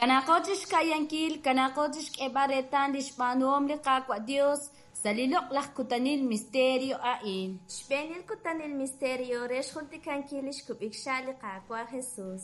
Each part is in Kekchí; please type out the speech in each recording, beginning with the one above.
Kanaaqo chi xka'yankil, kanaaqo chi xk'eeb'al reetal li xb'aanuhom li Qaawa' Dios sa' li loq'laj kutanil misterio a'in. Xb'eenil kutanil misterio re xjultikankil lix kub'ik xha' li Qaawa' Jesus.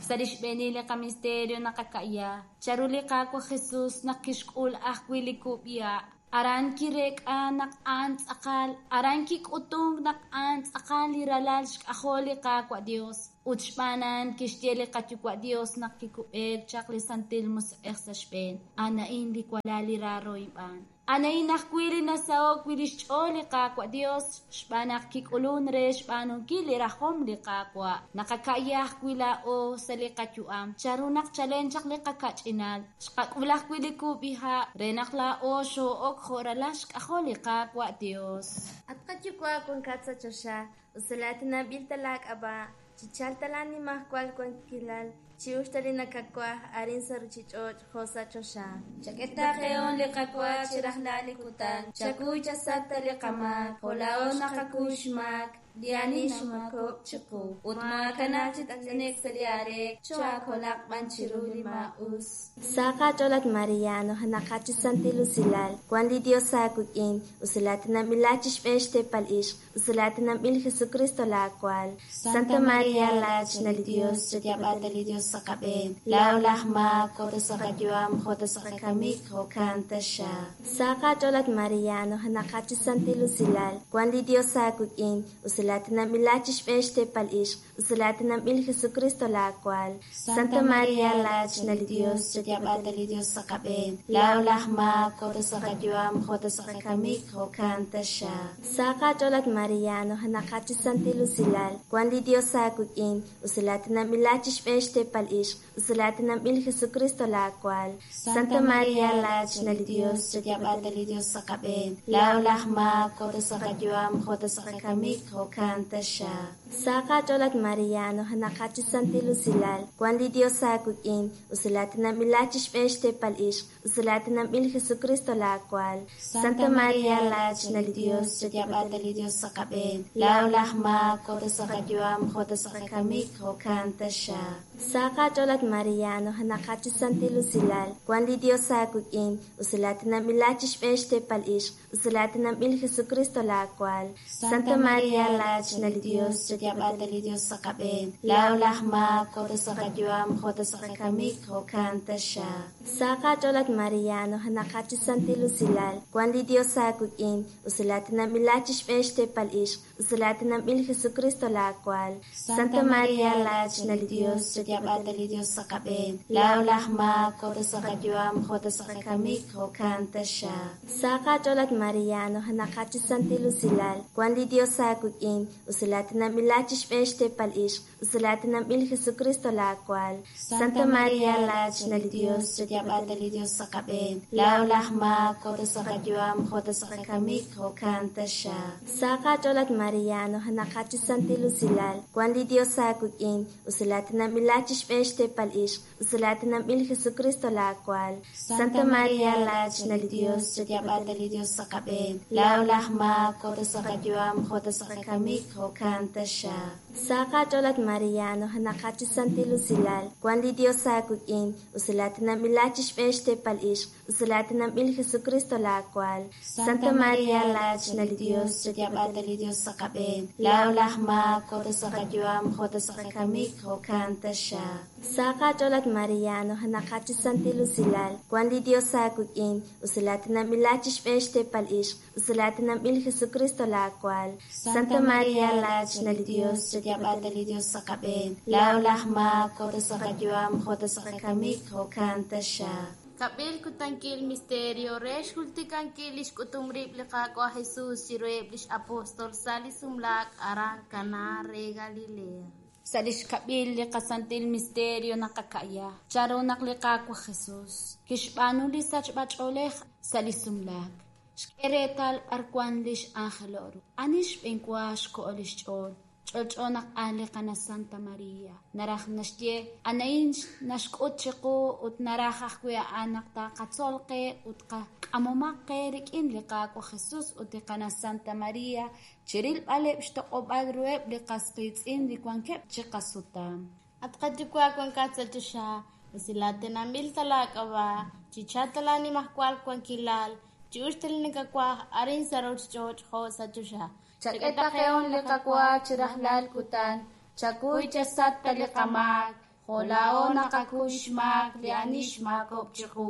Sa' li xb'eenil li qamisterio naqaka'ya chanru li Qaawa' Jesus naq kixk'ul ajwi' li kub'iha'. Aran kireek'a naq a'an tz'aqal, aran kik'utunk naq a'an tz'aqal li ralal xk'ajol li Qaawa' Dios. Ut xb'aan a'an kixye li qaYuwa' Dios naq kikub'eek chaq li Santil Musiq'ej sa' xb'een, A'an a'in li walal li raaro inb'aan. A'an a'in ajwi' li nasaho'k wi' li xch'ool li Qaawa' Dios xb'aan naq kik'ulunk re xb'aanunkil li rajom li Qaawa'. Naqaka'ya ajwi' laa'o sa' li qayu'am chanru naq chalen chaq li qaka'ch'inal xqak'ul ajwi' li kub'iha' re naq laa'o xoo'ok jo' ralal xk'ajol li Qaawa' Dios. At qaYuwa' wankat sa' choxa, usilaatinanb'il ta laak'ab'a', chichalq ta laanimajwal wankilal, chi'uxq ta li nakawaj arin sa' ruuchich'och' jo' sa' choxa. Chak'e ta qehon li qawa chi rajlal li kutan, chakuy chasach ta li qamaak, jo' laa'o naqakuy xmaak li ani xmaakob'k chiqu. Ut maakanab' chi t'ane'k sa' li aaleek, choohaakolaq b'an chiru li maa'us. Sa qach'ool at Maria, nujenaqat chi santil usilal, wank li Dios aawik'in, usilaatinanb'ilat chi xb'een xteepal ixq, usilaatinanb'il Jesukristo laawal. Santa Maria, laachna li Dios, chayaab'a ta li Dios sa' qab'een, laa'o laj maak, jo' ta sa' qayu'am, jo' ta sa' qakamik, jo'kan taxaq. Sa qach'ool at Maria, nujenaqat chi santil usilal, wank li Dios aawik'in, usilaatinanb'ilat chi xb'een xteepal ixq, usilaatinanb'il Jesukristo laawal. Santa Maria, laachna li Dios, chayaab'a ta li Dios sa' qab'een, laa'o laj maak, jo' ta sa' qayu'am, jo' ta sa' qakamik, jo'kan taxaq. Sa qach'ool at Maria, nujenaqat chi santil usilal, wank li Dios aawik'in, usilaatinanb'ilat chi xb'een xteepal ixq, usilaatinanb'il Jesukristo laawal. Santa Maria, laachna li Dios, chayaab'a ta li Dios sa' qab'een, laa'o laj maak, jo' ta sa' qayu'am, jo' ta sa' qakamik, jo'kan taxaq. Sa qach'ool at Maria, nujenaqat chi santil usilal, wank li Dios aawik'in, usilaatinanb'ilat chi xb'een xteepal ixq, usilaatinanb'il Jesukristo laawal. Santa Maria, laachna li Dios, chayaab'a ta li Dios sa' qab'een, laa'o laj maak, jo' ta sa' qayu'am, jo' ta sa' qakamik, jo'kan taxaq. Sa qach'ool at Maria, nujenaqat chi santil usilal, wank li Dios aawik'in, usilaatinanb'ilat chi xb'een xteepal ixq, usilaatinanb'il Jesukristo laawal. Santa Maria, laachna li Dios, chayaab'a ta li Dios sa' qab'een, laa'o laj maak, jo' ta sa' qayu'am, jo' ta sa' qakamik, jo'kan taxaq. Sa qach'ool at Maria, nujenaqat chi santil usilal, wank li Dios aawik'in, usilaatinanb'ilat chi xb'een xteepal ixq, usilaatinanb'il Jesukristo laawal. Santa Maria, laachna li Dios, chayaab'a ta li Dios sa' qab'een, laa'o laj maak, jo' ta sa' qayu'am, jo' ta sa' qakamik, jo'kan taxaq. Sa qach'ool at Maria, nujenaqat chi santil usilal, wank li Dios aawik'in, usilaatinanb'ilat chi xb'een xteepal ixq, usilaatinanb'il Jesukristo laawal. Santa Maria, laachna li Dios, chayaab'a ta li Dios sa' qab'een, laa'o laj maak, jo' ta sa' qayu'am, jo' ta sa' qakamik, jo'kan taxaq. Sa qach'ool at Maria, nujenaqat chi santil usilal, wank li Dios aawik'in, usilaatinanb'ilat chi xb'een xteepal ixq, usilaatinanb'il Jesukristo laawal. Santa Maria, laachna li Dios, chayaab'a ta li Dios sa' qab'een, laa'o laj maak, jo' ta sa' qayu'am, jo' ta sa' qakamik, jo'kan taxaq. Sa qach'ool at Maria, nujenaqat chi santil usilal, wank li Dios aawik'in, usilaatinanb'ilat chi xb'een xteepal ixq, usilaatinanb'il Jesukristo laawal. Santa Maria, laachna li Dios, chayaab'a ta li Dios sa' qab'een, laa'o laj maak, jo' ta sa' qayu'am, jo' ta sa' qakamik, jo'kan taxaq. Sa qach'ool at Maria, nujenaqat chi santil usilal, wank li Dios aawik'in, usilaatinanb'ilat chi xb'een xteepal ixq, usilaatinanb'il Jesukristo laawal. Santa Maria, laachna li Dios, chayaab'a ta li Dios sa' qab'een, laa'o laj maak, jo' ta sa' qayu'am, jo' ta sa' qakamik, jo'kan taxaq. Kab'il kutankil misterio re xjultikankil lix k'utum rib' li Qaawa' Jesus chiruheb' lix apostol sa' li sumlaak aran Caná re Galilea. Sa' li xkab'il li qasantil misterio naqaka'ya chanru naq li Qaawa' Jesus kixb'aanu li sachb'ach'oolej sa' li sumlaak. Xk'e reetal b'ar wank lix anjelo' ru. Ani xb'eenwa xko'o lix ch'ool? Ch'olch'o naq a'an li Qana Santa Maria. Naraj naxye, a'an naxk'ut chiqu ut naraj ajwi' a'an naq taqatzol qe ut qak'amomaq qe rik'in li Qaawa' Jesus ut li Qana Santa Maria chirilb'aleb' xtoq'ob'al ruheb' li qas qiitz'in li wankeb' chiqasutam. At qaYuwa' wankat sa' choxa, Usilatinanb'il ta laak'ab'a', chichalq ta laanimajwal wankilal, chi'uxq ta li nakawaj arin sa' ruuchich'och' jo' sa' choxa. Chak'e ta qehon li qawa chi rajlal kutan, chakuy chasat ta li qamaak, jo' laa'o naqakuy xmaak li ani xmaakok chiqu,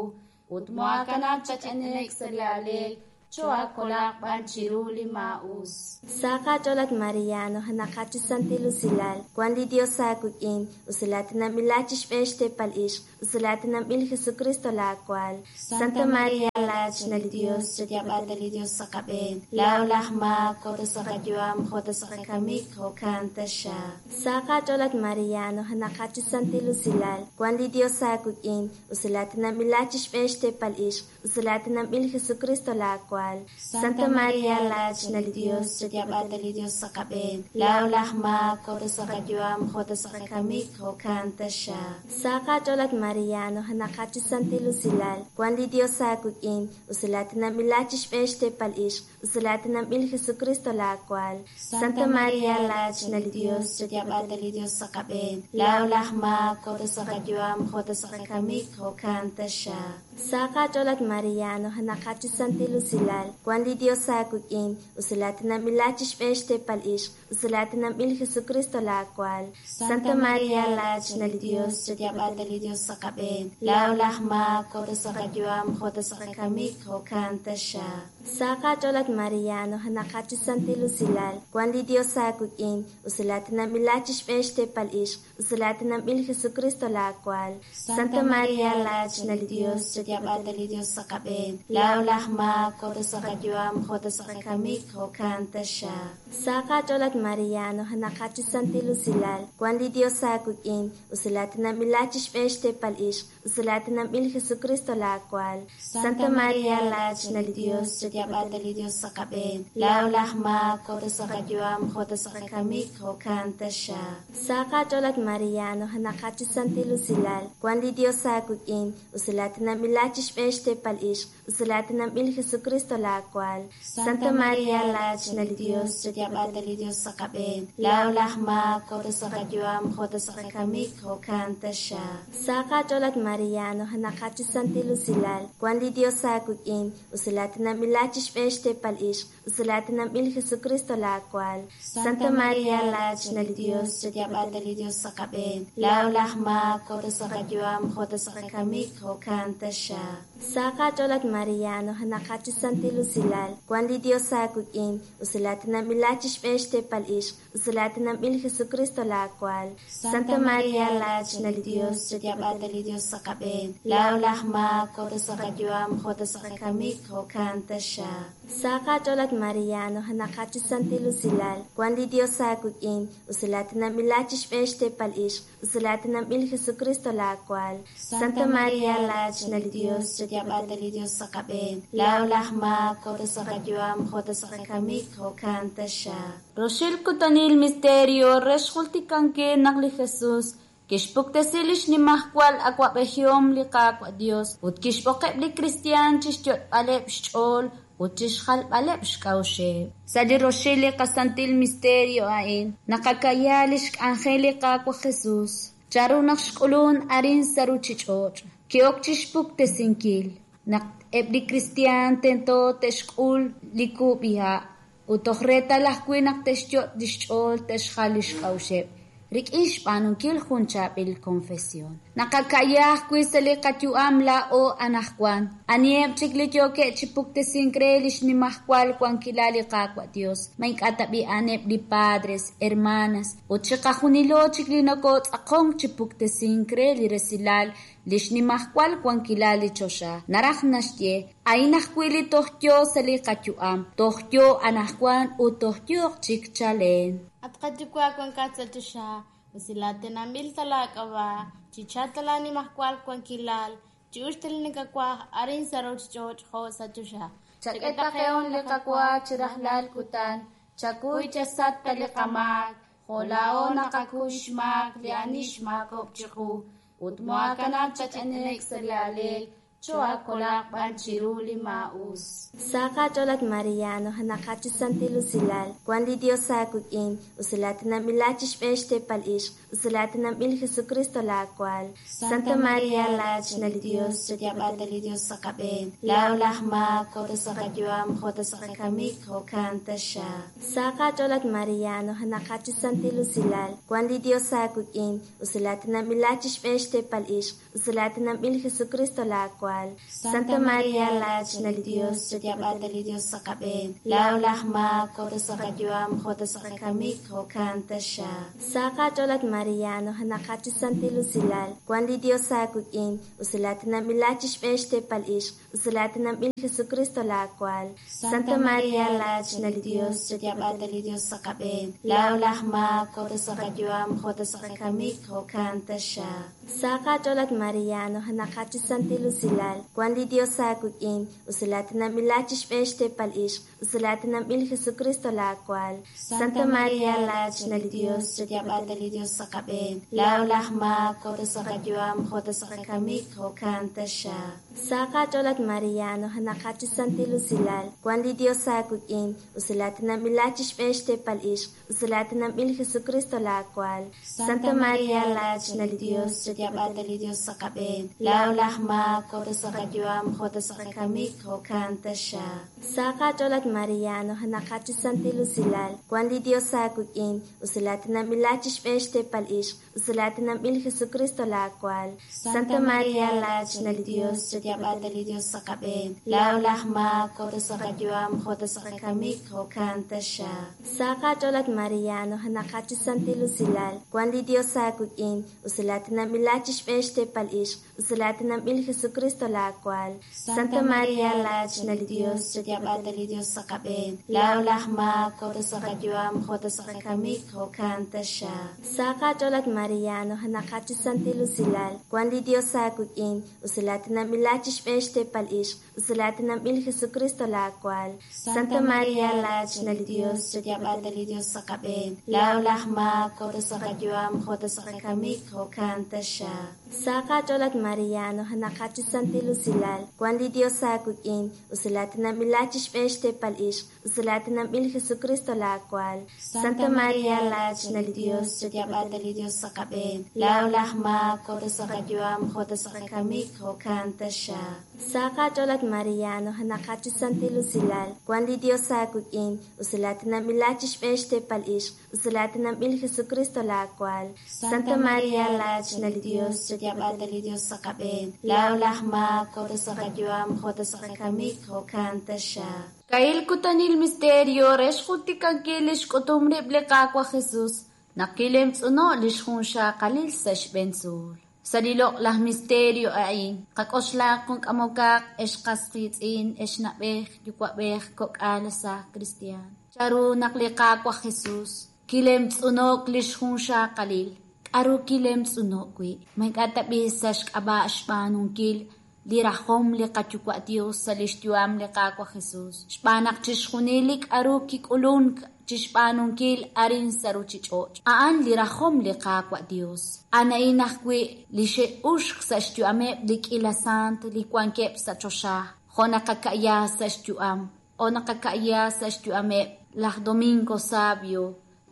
ut moakanab' chach'enek sa' li aleek, choakolaq b'an chiru li maa'us. Sa qach'ool at Maria, nujenaqat chi santil usilal, wan li Dios aawik'in, usilatinanb'ilat chi xb'een xteepal ixq, usilatinanb'il Jesucristo laawaal. Santa Maria, laachna li Dios, chayaab'ata li Dios sa' qab'een, laa'o laj maak, jo' ta sa' qayu'am, jo' ta sa' qakamik, jo'kan taxaq. Sa qach'ool at Maria, nujenaqat chi santil usilal, wan li Dios aawik'in, usilatinanb'ilat chi xb'een xteepal ixq, usilatinanb'il Jesucristo laawaal. Santa Maria, laachna li Dios, chayaab'ata li Dios sa' qab'een, laa'o laj maak, jo' ta sa' qayu'am, jo' ta sa' qakamik, jo'kan taxaq. Sa qach'ool at Maria, nujenaqat chi santil usilal, wan li Dios aawik'in, usilatinanb'ilat chi xb'een xteepal ixq, usilatinanb'il Jesucristo laawaal. Santa Maria, laachna li Dios, chayaab'ata li Dios sa' qab'een, laa'o laj maak, jo' ta sa' qayu'am, jo' ta sa' qakamik, jo'kan taxaq. Sa qach'ool at Maria, nujenaqat chi santil usilal, wan li Dios aawik'in, usilatinanb'ilat chi xb'een xteepal ixq, usilatinanb'il Jesucristo laawaal. Santa Maria, laachna li Dios, chayaab'ata li Dios sa' qab'een, laa'o laj maak, jo' ta sa' qayu'am, jo' ta sa' qakamik, jo'kan taxaq. Sa qach'ool at Maria, nujenaqat chi santil usilal, wan li Dios aawik'in, usilatinanb'ilat chi xb'een xteepal ixq, usilatinanb'il Jesucristo laawaal. Santa Maria, laachna li Dios, chayaab'ata li Dios sa' qab'een, laa'o laj maak, jo' ta sa' qayu'am, jo' ta sa' qakamik, jo'kan taxaq. Sa qach'ool at Maria, nujenaqat chi santil usilal, wan li Dios aawik'in, usilatinanb'ilat chi xb'een xteepal ixq, usilatinanb'il Jesucristo laawaal. Santa Maria, laachna li Dios, chayaab'ata li Dios sa' qab'een, laa'o laj maak, jo' ta sa' qayu'am, jo' ta sa' qakamik, jo'kan taxaq. Sa qach'ool at Maria, nujenaqat chi santil usilal, wan li Dios aawik'in, usilatinanb'ilat chi xb'een xteepal ixq, usilatinanb'il Jesucristo laawaal. Santa Maria, laachna li Dios, chayaab'ata li Dios sa' qab'een, laa'o laj maak, jo' ta sa' qayu'am, jo' ta sa' qakamik, jo'kan taxaq. Sa qach'ool at Maria, nujenaqat chi santil usilal, wan li Dios aawik'in, usilatinanb'ilat chi xb'een xteepal ixq, usilatinanb'il Jesucristo laawaal. Santa Maria, laachna li Dios, chayaab'ata li Dios sa' qab'een, laa'o laj maak, jo' ta sa' qayu'am, jo' ta sa' qakamik, jo'kan taxaq. Sa qach'ool at Maria, nujenaqat chi santil usilal, wan li Dios aawik'in, usilatinanb'ilat chi xb'een xteepal ixq, usilatinanb'il Jesucristo laawaal. Santa Maria, laachna li Dios, chayaab'ata li Dios sa' qab'een, laa'o laj maak, jo' ta sa' qayu'am, jo' ta sa' qakamik, jo'kan taxaq. Sa qach'ool at Maria, nujenaqat chi santil usilal, wan li Dios aawik'in, usilatinanb'ilat chi xb'een xteepal ixq, usilatinanb'il Jesucristo laawaal. Santa Maria, laachna li Dios, chayaab'ata li Dios sa' qab'een, laa'o laj maak, jo' ta sa' qayu'am, jo' ta sa' qakamik, jo'kan taxaq. Roxil kutanil misterio re xjultikankil naq li Jesus kixpuktesi li xnimajwal awab'ejihom li Qaawa' Dios ut kixb'oqeb' li kristiaan chixyot'b'aleb' xch'ool ut chixjalb'aleb' xk'a'uxeb'. Sa' li roxil li qasantil misterio a'in naqakaya li xk'anjel li Qaawa' Jesus, chanru naq xk'ulun arin sa' ruuchich'och', ki'ok chixpuktesinkil naq eb' li kristiaan tento te'xk'ul li kub'iha' ut toj reetal ajwi' naq te'xyot' li xch'ool te'xjal li xk'a'uxeb' rik'in xb'aanunkil jun chaab'il confesión. Naqakaya ajwi' sa' li qayu'am laa'o anajwan, aniheb' chik li yookeb' chi puktesink re li xnimajwal wankilal li Qaawa' Dios, ma ink'a' tab'i a'aneb' li padres, hermanas, ut chiqajunilo chik li nokotz'aqonk chi puktesink re li resilal li xnimajwal wankilal li choxa. Naraj naxye, a'in ajwi' li toj yo sa' li qayu'am, toj yo anajwan ut toj yooq chik chalen. At qayuwa' wankat sa' choxa, usilatinanb'il ta laak'ab'a', chichalq ta laanimajwal wankilal, chi'uxq ta li nakawaj arin sa' ruuchich'och' jo' sa' choxa. Chak'e ta qehon li qawa chi rajlal kutan, chakuy chasat ta li qamaak, jo' laa'o naqakuy xmaak li ani xmaakok chiqu, ut moakanab' chach'enek sa' li aleek, Cho'aakolaq b'an chiru li maa'us. Sa qach'ool at Maria, nujenaqat chi santil usilal, wan li Dios aawik'in, usilatinanb'ilat chi xb'een xteepal ixq, usilatinanb'il Jesucristo laawaal. Santa Maria, laachna li Dios, chayaab'ata li Dios sa' qab'een, laa'o laj maak, jo' ta sa' qayu'am, jo' ta sa' qakamik, jo'kan taxaq. Sa qach'ool at Maria, nujenaqat chi santil usilal, wan li Dios aawik'in, usilatinanb'ilat chi xb'een xteepal ixq, usilatinanb'il Jesucristo laawaal. Santa Maria, laachna li Dios, chayaab'ata li Dios sa' qab'een, laa'o laj maak, jo' ta sa' qayu'am, jo' ta sa' qakamik, jo'kan taxaq. Sa qach'ool at Maria, nujenaqat chi santil usilal, wan li Dios aawik'in, usilatinanb'ilat chi xb'een xteepal ixq, usilatinanb'il Jesucristo laawaal. Santa Maria, laachna li Dios, chayaab'ata li Dios sa' qab'een, laa'o laj maak, jo' ta sa' qayu'am, jo' ta sa' qakamik, jo'kan taxaq. Sa qach'ool at Maria, nujenaqat chi santil usilal, wan li Dios aawik'in, usilatinanb'ilat chi xb'een xteepal ixq, usilatinanb'il Jesucristo laawaal. Santa Maria, laachna li Dios, chayaab'ata li Dios sa' qab'een, laa'o laj maak, jo' ta sa' qayu'am, jo' ta sa' qakamik, jo'kan taxaq. Sa qach'ool at Maria, nujenaqat chi santil usilal, wan li Dios aawik'in, usilatinanb'ilat chi xb'een xteepal ixq, usilatinanb'il Jesucristo laawaal. Santa Maria, laachna li Dios, chayaab'ata li Dios sa' qab'een, laa'o laj maak, jo' ta sa' qayu'am, jo' ta sa' qakamik, jo'kan taxaq. Sa qach'ool at Maria, nujenaqat chi santil usilal, wan li Dios aawik'in, usilatinanb'ilat chi xb'een xteepal ixq, usilatinanb'il Jesucristo laawaal. Santa Maria, laachna li Dios, chayaab'ata li Dios sa' qab'een, laa'o laj maak, jo' ta sa' qayu'am, jo' ta sa' qakamik, jo'kan taxaq. Sa qach'ool at Maria, nujenaqat chi santil usilal, wan li Dios aawik'in, usilatinanb'ilat chi xb'een xteepal ixq, usilatinanb'il Jesucristo laawaal. Santa Maria, laachna li Dios, chayaab'ata li Dios sa' qab'een, laa'o laj maak, jo' ta sa' qayu'am, jo' ta sa' qakamik, jo'kan taxaq. Sa qach'ool at Maria, nujenaqat chi santil usilal, wan li Dios aawik'in, usilatinanb'ilat chi xb'een xteepal ixq, usilatinanb'il Jesucristo laawaal. Santa Maria, laachna li Dios, chayaab'ata li Dios sa' qab'een, laa'o laj maak, jo' ta sa' qayu'am, jo' ta sa' qakamik, jo'kan taxaq. Sa qach'ool at Maria, nujenaqat chi santil usilal, wan li Dios aawik'in, usilatinanb'ilat chi xb'een xteepal ixq, usilatinanb'il Jesucristo laawaal. Santa Maria, laachna li Dios, chayaab'ata li Dios sa' qab'een, laa'o laj maak, jo' ta sa' qayu'am, jo' ta sa' qakamik, jo'kan taxaq. Sa qach'ool at Maria, nujenaqat chi santil usilal, wan li Dios aawik'in, usilatinanb'ilat chi xb'een xteepal ixq, usilatinanb'il Jesucristo laawaal. Santa Maria, laachna li Dios, chayaab'ata li Dios sa' qab'een, laa'o laj maak, jo' ta sa' qayu'am, jo' ta sa' qakamik, jo'kan taxaq. Kail kutanil misterio re xjultikankil li xk'utum rib' li Qaawa' Jesus naq kilemtz'uno' li xjunxaqalil sa' xb'een tzuul. Sa' li loq'laj misterio a'in, qak'oxlaq jun k'amokaq ex qas qiitz'in, ex na'b'ej, yuwa'b'ej, kok'al sa' cristian. Charu naq li Qaawa' Jesus kilemtz'unok li xjunxaqalil, k'aru kilemtz'uno' wi'. Ma ink'a' tab'i sa' xk'ab'a' xb'aanunkil li rajom li qayuwa' Dios sa' li xyu'am li Qaawa' Jesus. Xb'aan naq chixjunil li k'aru kik'ulunk chixb'aanunkil arin sa' ruchich'och'. A'an li rajom li Qaawa' Dios. A'an ajwi' li xe'uxk sa' xyu'ameb' li k'ila sant li wankeb' sa' choxa. Jo' naqaka'ya sa' xyu'am o naqaka'ya sa' xyu'ameb' laj Domingo Sabio,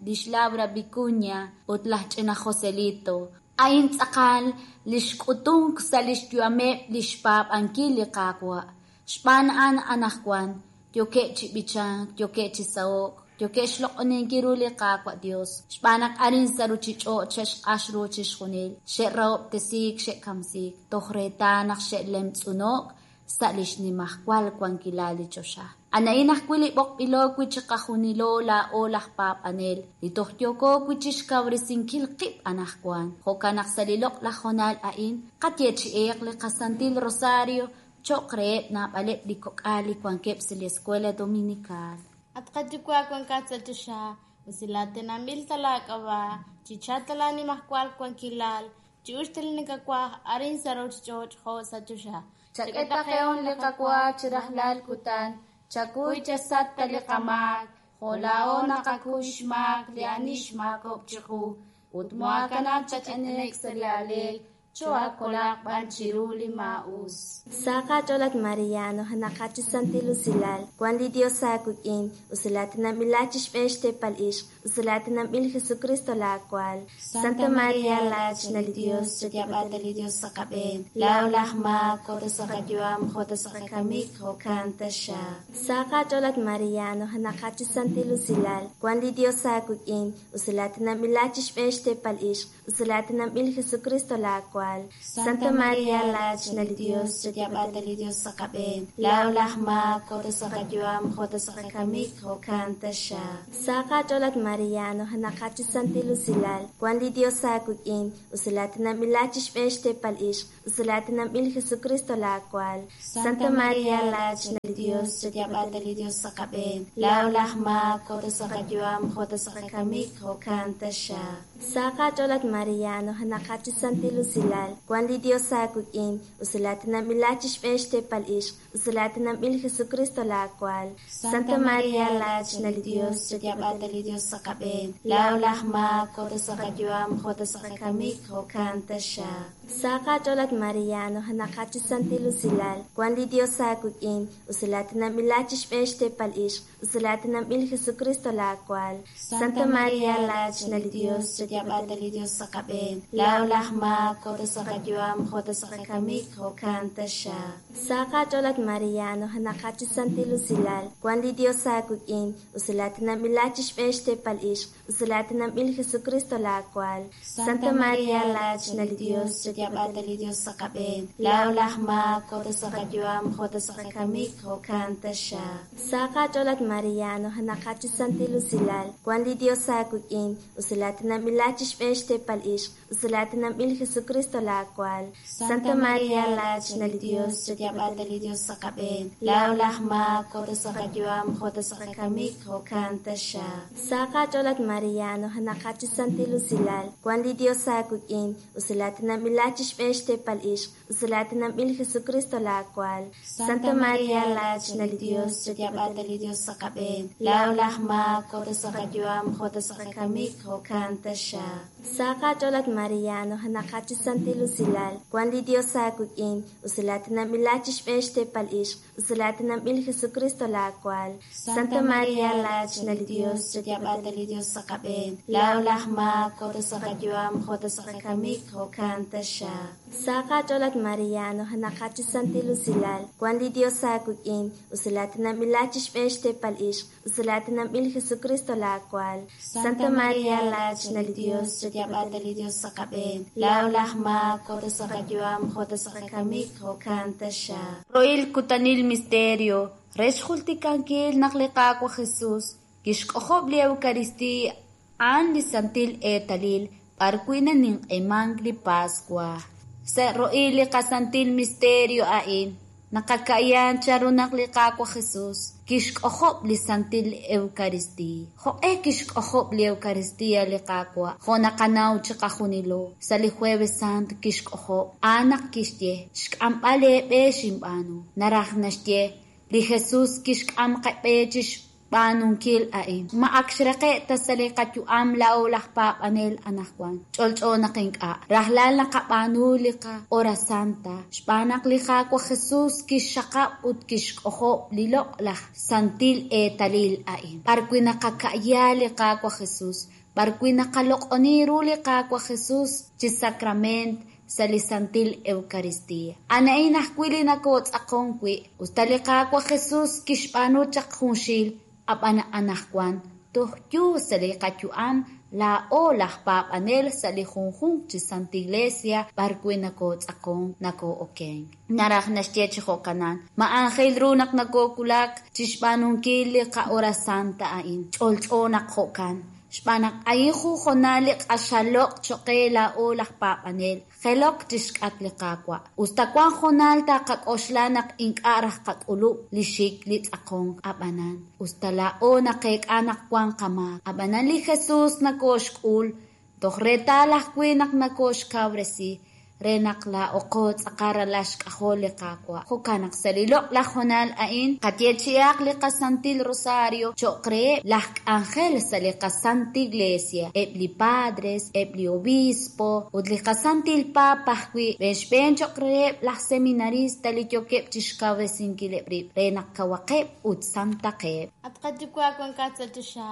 lix Laura Vicuña ut laj ch'ina Joselito. A'in tz'aqal li xk'utunk sa' li xyu'ameb' li xpaab'ankil li Qaawa'. Xb'aan a'an anaqwan yookeb' chi b'ichank, yookeb' chi saho'k, yookeb' xloq'oninkil ru li Qaawa' Dios. Xb'aan naq arin sa' ruchich'och' xe'xq'ax ru chixjunil, xe'rahob'tesiik, xe'kamsiik, toj reetal naq xe'lemtz'uno'k sa' li xnimajwal wankilal li choxa. A'in ajwi' li b'oqb'ilo wi' chiqajunilo laa'o laj paab'anel, li toj yooko wi' chixkawresinkil qib' anaqwan. Jo'kan naq sa' li loq'laj honal a'in, qayeechi'eq li qasantil rosario cho'q reheb' naab'aleb' li kok'al li wankeb' sa' li Escuela Dominical. At qayuwa' wankat sa' choxa, usilatinanb'il ta laak'ab'a', chichal ta laanimajwal wankilal, chi'ux ta li nakawaj arin sa' ruchich'och' jo' sa' choxa. Chak'e taqe'on li qawa chi rajlal kutan, chakuy chasat ta li qamaak, jo' laa'o naqakuy xmaak li ani xmaakok' chiqu, ut moakanab' chach'enek sa' li aleek, Choohaakolaq b'an chiru li maa'us. Sa aach'ool at Maria, nujenaqat chi santil usilal, wank li Dios aawik'in, usilaatinanb'ilat chi xb'een xteepal ixq, usilaatinanb'il Jesucristo laawal. Santa Maria, laachna li Dios, chayaab'a li Dios sa' qab'een, laa'o laj maak, jo' ta sa' qayu'am, jo' ta sa' qakamik, jo'kan taxaq. Sa aach'ool at Maria, nujenaqat chi santil usilal, wank li Dios aawik'in, usilaatinanb'ilat chi xb'een xteepal ixq, usilaatinanb'il Jesucristo laawal. Santa Maria, laachna li Dios, chayaab'a li Dios sa' qab'een, laa'o laj maak, jo' ta sa' qayu'am, jo' ta sa' qakamik, jo'kan taxaq. Sa aach'ool at Maria, nujenaqat chi santil usilal, wank li Dios aawik'in, usilaatinanb'ilat chi xb'een xteepal ixq, usilaatinanb'il Jesucristo laawal. Santa Maria, laachna li Dios, chayaab'a li Dios sa' qab'een, laa'o laj maak, jo' ta sa' qayu'am, jo' ta sa' qakamik, jo'kan taxaq. Sa aach'ool at Maria, nujenaqat chi santil usilal, wank li Dios aawik'in, usilaatinanb'ilat chi xb'een xteepal ixq, usilaatinanb'il Jesucristo laawal. Santa Maria, laachna li Dios, chayaab'a li Dios sa' qab'een, laa'o laj maak, jo' ta sa' qayu'am, jo' ta sa' qakamik, jo'kan taxaq. Sa aach'ool at Maria, nujenaqat chi santil usilal, wank li Dios aawik'in, usilaatinanb'ilat chi xb'een xteepal ixq, usilaatinanb'il Jesucristo laawal. Santa Maria, laachna li Dios, chayaab'a li Dios sa' qab'een, laa'o laj maak, jo' ta sa' qayu'am, jo' ta sa' qakamik, jo'kan taxaq. Sa aach'ool at Maria, nujenaqat chi santil usilal, wank li Dios aawik'in, usilaatinanb'ilat chi xb'een xteepal ixq, usilaatinanb'il Jesucristo laawal. Santa Maria, laachna li Dios, chayaab'a li Dios sa' qab'een, laa'o laj maak, jo' ta sa' qayu'am, jo' ta sa' qakamik, jo'kan taxaq. Sa aach'ool at Maria, nujenaqat chi santil usilal, wank li Dios aawik'in, usilaatinanb'ilat chi xb'een xteepal ixq, usilaatinanb'il Jesucristo laawal. Santa Maria, laachna li Dios, chayaab'a li Dios sa' qab'een, laa'o laj maak, jo' ta sa' qayu'am, jo' ta sa' qakamik, jo'kan taxaq. Sa aach'ool at Maria, nujenaqat chi santil usilal, wank li Dios aawik'in, usilaatinanb'ilat chi xb'een xteepal ixq, usilaatinanb'il Jesucristo laawal. Santa Maria, laachna li Dios, chayaab'a li Dios sa' qab'een, laa'o laj maak, jo' ta sa' qayu'am, jo' ta sa' qakamik, jo'kan taxaq. Sa aach'ool at Maria, nujenaqat chi santil usilal, wank li Dios aawik'in, usilaatinanb'ilat chi xb'een xteepal ixq, usilaatinanb'il Jesucristo laawal. Santa Maria, laachna li Dios, chayaab'a li Dios sa' qab'een, laa'o laj maak, jo' ta sa' qayu'am, jo' ta sa' qakamik, jo'kan taxaq. Sa aach'ool at Maria, nujenaqat chi santil usilal, wank li Dios aawik'in, usilaatinanb'ilat chi xb'een xteepal ixq, usilaatinanb'il Jesucristo laawal. Santa Maria, laachna li Dios, chayaab'a li Dios sa' qab'een, laa'o laj maak, jo' ta sa' qayu'am, jo' ta sa' qakamik, jo'kan taxaq. Rohil kutanil misterio, re xjultikankil naq li Qaawa' Jesus kixk'ojob' li Eucaristía a'an li santil eetalil b'ar wi' naninq'emank li Paswa. Sa' rohil li qasantil misterio a'in, naqaka'yan chanru naq li Qaawa' Jesus kixk'ojob' li santil Eucaristía. Jo'q'e kixk'ojob' li Eucaristía li Qaawa', jo' naqanaw chiqajunilo, sa' li Jueves Santo kixk'ojob', a'an naq kixye, xk'amb'al eeb'e xinb'aanu. Naraj naxye, li Jesus kixk'am qab'e chi xb'aanunkil a'in. Ma ak xraqe' ta sa' li qayu'am laa'o laj paab'anel anaqwan. Ch'olch'o naq ink'a'. Rajlal naqab'aanu li qa-Hora Santa, xb'aan naq li Qaawa' Jesus kixxaqab' ut kixk'ojob' li loq'laj santil eetalil a'in. B'ar wi' naqaka'ya li Qaawa' Jesus, b'ar wi' naqaloq'oni ru li Qaawa' Jesus chi sacrament sa' li santil Eucaristía. A'an ajwi' li nakootz'aqon wi', usta li Qaawa' Jesus kixb'aanu chaq junxil, ab'an anaqwan toj yu sa' li qayu'am laa'o laj paab'anel sa' li junjunq chi Santa Iglesia b'ar wi' nakootz'aqon nakoo'okenk. Naraj naxye chi jo'kanan, ma aajel ru naq nakoowulak chi xb'aanunkil li qa-Hora Santa a'in, ch'olch'o naq jo'kan. Xb'aan naq a'in junjonal li q'axaloq' choq' laa'o laj paab'anel, jelok chi xk'at li Qaawa'. Usta wan jonal taqak'oxla naq ink'a' raj qak'ulub' li xik li tz'aqonk ab'anan. Usta laa'o naqeek'a naq wan qamaak. Ab'anan li Jesus nakooxk'ul, toj reetal ajwi' naq nakooxkawresi. re naq laa'oqo tz'aqal ralal xk'ajol li Qaawa'. Jo'kan naq sa' li loq'laj hoonal a'in qayeechi'aq li qaSantil Rosario cho'q reheb' laj k'anjel sa' li qaSanta Iglesia, eb' li padres, eb' li obispo ut li qaSantil Papa ajwi', xb'een cho'q reheb' laj seminarista li yookeb' chi xkawresinkileb' rib' re naq kawaqeb' ut santaqeb'. At qayuwa' wankat sa' choxa,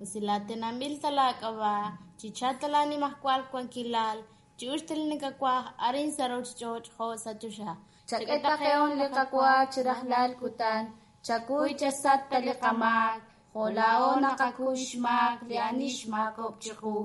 usilatinanb'il ta laak'ab'a', chichalq ta laanimajwal wankilal, chi'uxk ta li nakawaj arin sa' ruuchich'och' jo' sa' choxa. Chak'e taqe'on li qawa chi rajlal kutan, chakuy chasat ta li qamaak, jo' laa'o naqakuy xmaak li ani xmaakob'k chiqu,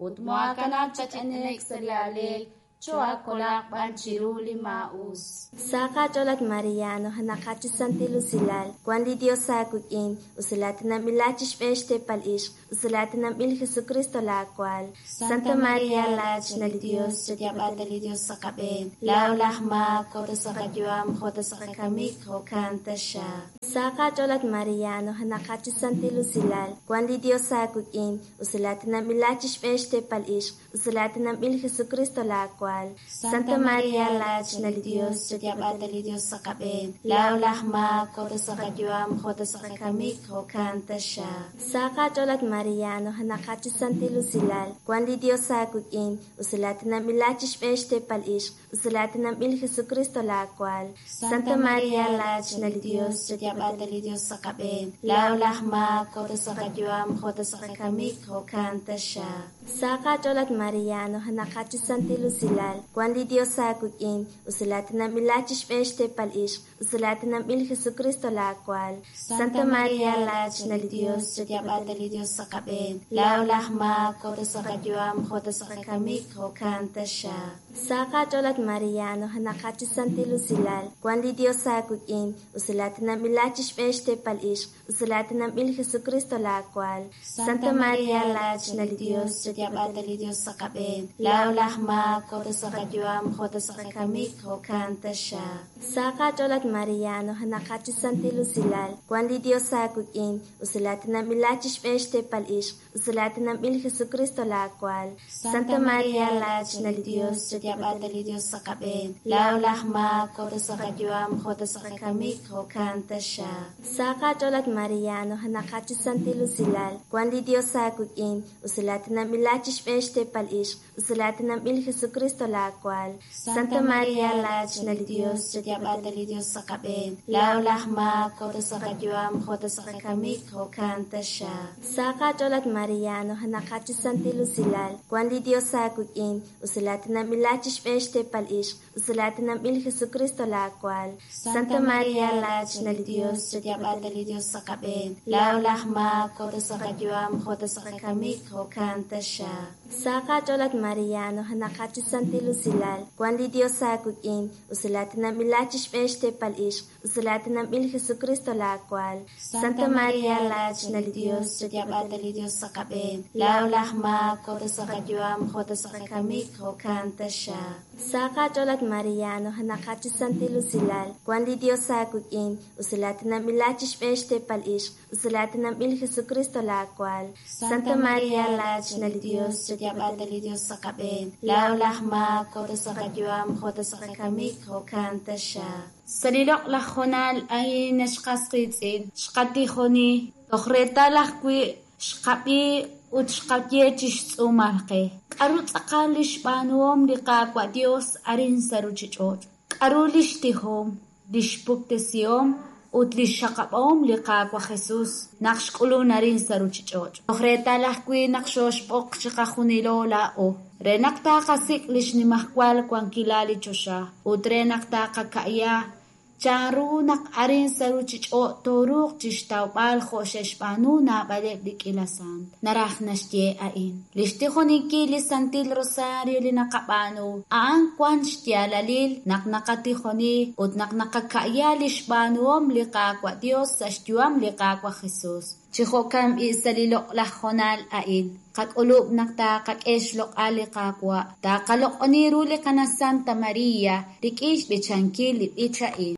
ut moakanab' chach'enek sa' li aalel, cho'akolaq b'an chiru li maa'us. Sa qach'ool at Mariano, hanaqat chi santil usilal, wan li Dios aawik'in, usilatinanb'ila chi xb'een xteepal ixq, usilatinanb'il Jesucristo laawaal. Santa María laachna li Dios, chayaab'ata li Dios sa' qab'een, laa'o laj maak, jo' ta sa' qayu'am, jo' ta sa' qakamik, jo'kan taxaq. Sa qach'ool at Mariano, hanaqat chi santil usilal, wan li Dios aawik'in, usilatinanb'ila chi xb'een xteepal ixq, usilatinanb'il Jesucristo laawaal. Santa María laachna li Dios, chayaab'ata li Dios sa' qab'een, laa'o laj maak, jo' ta sa' qayu'am, jo' ta sa' qakamik, jo'kan taxaq. Sa qach'ool at Mariano, hanaqat chi santil usilal, wan li Dios aawik'in, usilatinanb'ila chi xb'een xteepal ixq, usilatinanb'il Jesucristo laawaal. Santa María laachna li Dios, chayaab'ata li Dios sa' qab'een, laa'o laj maak, jo' ta sa' qayu'am, jo' ta sa' qakamik, jo'kan taxaq. Sa qach'ool at Mariano, hanaqat chi santil usilal, wan li Dios aawik'in, usilatinanb'ila chi xb'een xteepal ixq, usilatinanb'il Jesucristo laawaal. Santa María laachna li Dios, chayaab'ata li Dios sa' qab'een, laa'o laj maak, jo' ta sa' qayu'am, jo' ta sa' qakamik, jo'kan taxaq. Sa qach'ool at Mariano, hanaqat chi santil usilal, wan li Dios aawik'in, usilatinanb'ila chi xb'een xteepal ixq, usilatinanb'il Jesucristo laawaal. Santa María laachna li Dios, chayaab'ata li Dios sa' qab'een, laa'o laj maak, jo' ta sa' qayu'am, jo' ta sa' qakamik, jo'kan taxaq. Sa qach'ool at Mariano, hanaqat chi santil usilal, wan li Dios aawik'in, usilatinanb'ila chi xb'een xteepal ixq, usilatinanb'il Jesucristo laawaal. Santa María laachna li Dios, chayaab'ata li Dios sa' qab'een, laa'o laj maak, jo' ta sa' qayu'am, jo' ta sa' qakamik, jo'kan taxaq. Sa qach'ool at Mariano, hanaqat chi santil usilal, wan li Dios aawik'in, usilatinanb'ila chi xb'een xteepal ixq, usilatinanb'il Jesucristo laawaal. Santa María laachna li Dios, chayaab'ata li Dios sa' qab'een, laa'o laj maak, jo' ta sa' qayu'am, jo' ta sa' qakamik, jo'kan taxaq. Sa qach'ool at Mariano, hanaqat chi santil usilal, wan li Dios aawik'in, usilatinanb'ila chi xb'een xteepal ixq, usilatinanb'il Jesucristo laawaal. Santa María laachna li Dios, chayaab'ata li Dios sa' qab'een, laa'o laj maak, jo' ta sa' qayu'am, jo' ta sa' qakamik, jo'kan taxaq. Sa qach'ool at Mariano, hanaqat chi santil usilal, wan li Dios aawik'in, usilatinanb'ila chi xb'een xteepal ixq, usilatinanb'il Jesucristo laawaal. Santa María laachna li Dios, chayaab'ata li Dios sa' qab'een, laa'o laj maak, jo' ta sa' qayu'am, jo' ta sa' qakamik, jo'kan taxaq. Sa qach'ool at Mariano, hanaqat chi santil usilal, wan li Dios aawik'in, usilatinanb'ila chi xb'een xteepal ixq, usilatinanb'il Jesucristo laawaal. Santa María laachna li Dios, chayaab'ata li Dios sa' qab'een, laa'o laj maak, jo' ta sa' qayu'am, jo' ta sa' qakamik, jo'kan taxaq. Sa' li loq'laj hoonal a'in xqas qiitz'in, xqatijoni, toj reetal ajwi' xqab'i ut xqaye chi xtz'uumal qe. K'aru tz'aqal li xb'aanuhom li Qaawa' Dios arin sa' ruuchich'och'? K'aru li xtijom, li xpuktesihom ut li xxaqab'ahom li Qaawa' Jesus naq xk'ulun arin sa' ruuchich'och'? Toj reetal ajwi' naq xooxb'oq chiqajunilo laa'o, re naq taaqasik' li xnimajwal wankilal li choxa ut re naq taaqaka'ya chanru naq arin sa' ruuchich'och' tooruuq chi xtawb'al jo' xe'xb'aanu naab'aleb' li k'ila sant. Naraj naxye a'in. Li xtijoninkil li Santil Rosario li naqab'aanu, a'an wan xyaalalil naq naqatijoni ut naq naqaka'ya li xb'aanuhom li Qaawa' Dios sa' xyu'am li Qaawa' Jesus. Chi jo'kan b'i' sa' li loq'laj hoonal a'in, qak'ulub' naq taaqak'e xloq'al li Qaawa', taaqaloq'oni ru li Qana Santa Maria rik'in xb'ichankil li b'ich a'in.